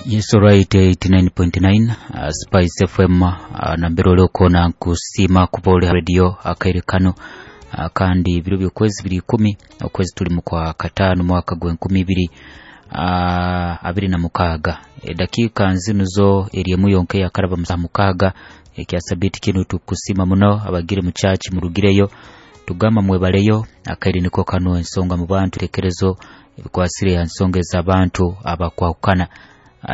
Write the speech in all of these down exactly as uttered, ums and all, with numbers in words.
Yes, alright, eighty-nine point nine uh, Spice F M, uh, nambere oliokona nkusima kuba oli radio akaire kano, uh, kandi biro byokwezi biri ikumi okwezi tuli kwa katano mwaka gwa enkumi ibiri uh, abiri na mukaaga. Edakiika nzinu zo eri yonke yakaraba mukaaga ekya sabiti kinu. Tukusima muno abagire mu church murugireyo, tugamba mwebaleyo. Akaire niko kano, ensonga mu bantu, tekerezo ebikwasire ya nsonga ez'abantu abakwahukana.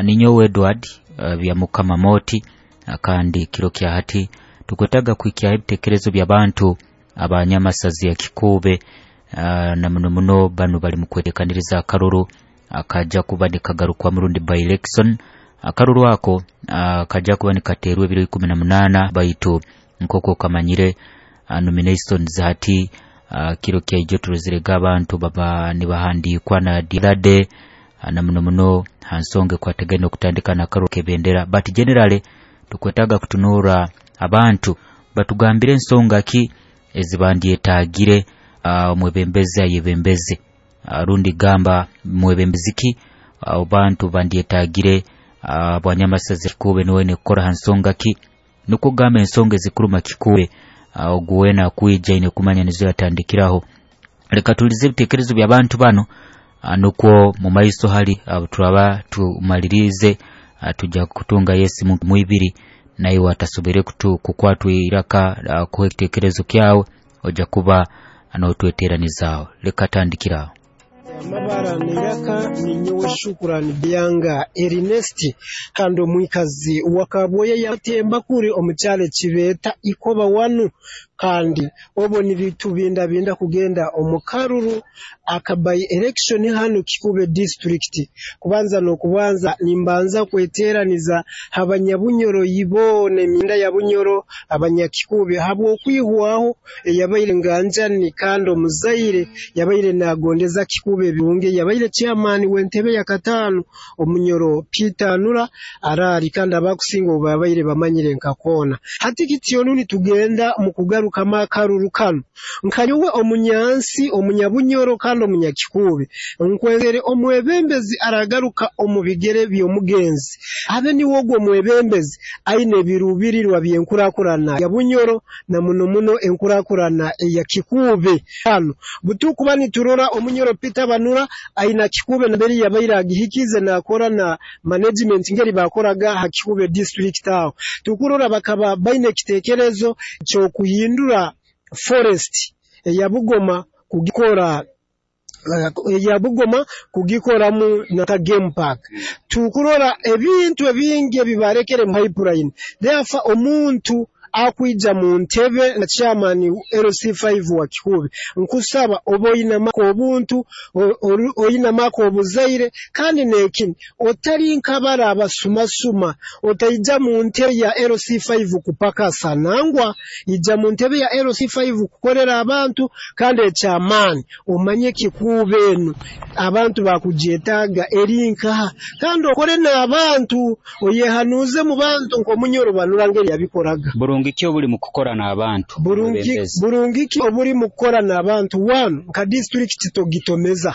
Ninyowe Edward uh, Byamukama Moti, uh, kandi kiro kya hati tukwetaga kuhikya ebitekerezo by'abantu abanyamasazi ya Kikuube, uh, na muno muno banu bali mu kwetekaniriza akaruru akaja kuba nikagarukwa murundi by election. Akaruru ako uh, kaja kuba nikaterwa ebiro ikumi na munana, baitu nkoko kamanyire uh, nominations hati uh, kiro kya ijo turozirega abantu baba nibahandikwa na the uh, na muno muno hansonga ekwategene okutandika nakaruru kebendera. But generally tukwetaga kutunura abantu batugambire ensonga ki ezibandyetagire uh, omwebembezi ayebembeze, uh, rundi gamba mwebembezi ki uh, bantu bandyetagire uh, bwanyamasazi Kikuube niwene kukora ha nsonga ki, nukwo gamba ensonga ezikuruma Kikuube, uh, ogu wena akwija ine kumanya nizo yatandikiraho. Leka tulize ebitekerezo by'abantu bano, uh, nukwo mu maiso hali uh, turaba tumalirize, uh, tujja kutunga yesimu mwibiri naiwe atasobere kutu kukwatwa iraka uh, kuha ekitekerezo kyawe ojja kuba notweteranizaaho. Leka tandikiraho. Amabara niraka ninyowe Shukurani Byanga Ernest, kandi omwikazi wa Kabwoya yatemba kuri omukyalo kibeeta Ikoba wanu, kandi obo nibitubindabinda kugenda omu karuru aka by election hanu Kikube district. Kubanza n'okubanza nimbanza kweteraniza abanyabunyoro boona, emyenda ya Bunyoro, abanyakikube, habw'okwihwaho eyabaire nganjani kandi omuzaire yabaire nagondeza Kikube ebirungi, yabaire chairman w'entebe ya kataano, Omunyoro Peter Anura Arari, kandi abakusinga obu babaire bamanyire nka koona. Hati kityo nitugenda mu kugarukamu akaruru kanu, nkanyowe omunyansi omunyabunyoro kandi omunyakikuube, nkwenzere omwebembezi aragaruka omu bigere by'omugenzi abe niwe ogwo omwebembezi aine ebiruubirirwa by'enkurakurana ya Bunyoro na muno muno enkurakurana eya Kikuube. Hano butukuba niturora Omunyoro Peter Banura aina Kikuube nambere yabaire agihikize nakora na management ngeri bakoraga ha Kikuube district. Aho tukurora bakaba baine ekitekerezo ky'okuhindura forest eya Bugoma, kugikora eya Bugoma kugikoramu naka game park. Tukurora ebintu ebingi ebibarekere mu pipeline. Therefore omuntu akwija mu ntebe na chairman L C five wa Kikuube, nkusaba oba oyinamako obuntu, oyinamako obuzaire, kandi nekini otali nkabara abasumasuma. Otaija mu ntebe ya L C five kupakasa, nangwa ija mu ntebe ya L C five kukorera abantu, kandi ekyamaani omanye Kikuube enu abantu bakugyetaaga eri nkaha, kandi okore n'abantu, oyehanuze mu bantu nk'Omunyoro Banura ngeri yabikoraga. Burungi ki obuli mu kukora n'abantu? Burungi Omwebembezi. Burungi ki obuli mu kukora n'abantu? One, nka district togitomeza,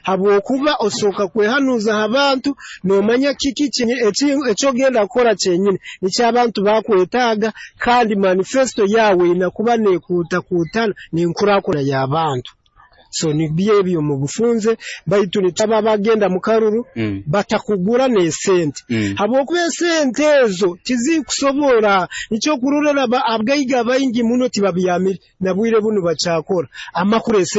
habwokuba osooka kwehanuza abantu nomanya kiki ekyogenda kukora kyenyini nikyo abantu bakwetaaga, kandi manifesto yawe inakuba nekuutakuutana n'enkurakurana y'abantu. So nibyo ebyo mu bufunze, baitu nitaba bagenda mu karuru Mm. batakugura n'esente, Mm. habwokuba esente ezo tizikusobora. Nikyo kurorera abagaiga baingi muno tibabyamire na bwire bunu bakyakora amakuru esente.